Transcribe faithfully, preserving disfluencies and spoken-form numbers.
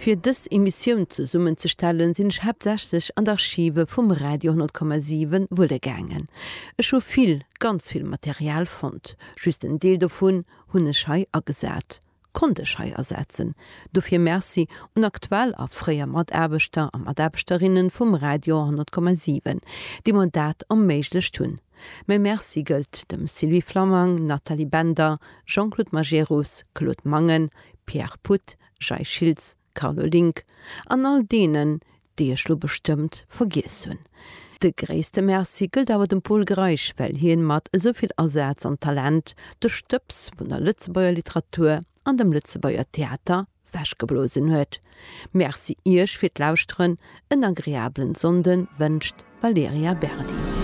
Fir dës Emissioun zesummenzestellen, sinn ech haaptsächlech an d'Archive vum Radio honnert Komma siwen wulle gaangen. Ech hu vill, ganz vill Material fonnt. Just en Deel dovun hunn ech hei agesat, konnt ech hei asetzen. Dofir Merci un aktuell a fréier Mataarbechter a Mataarbechterinnen vum Radio honnert Komma siwen, déi mer dat erméiglecht hunn. Mäi Merci gëllt dem Sylvie Flammang, Nathalie Bender, Jean-Claude Majerus, Claude Mangen, Pierre Puth, Jay Schiltz, Carlo Link an all deenen, déi ech lo bestëmmt vergiess hunn. De gréisste Merci gëllt awer dem Pol Greisch, well hien mat esou vill Asaz an Talent de Stëbs vun der Lëtzebuerger Literatur an dem Lëtzebuerger Theater wechgeblosen huet. Merci Iech fir d'Lauschteren, en agreablen Sonnden wënscht d'Valerija Berdi.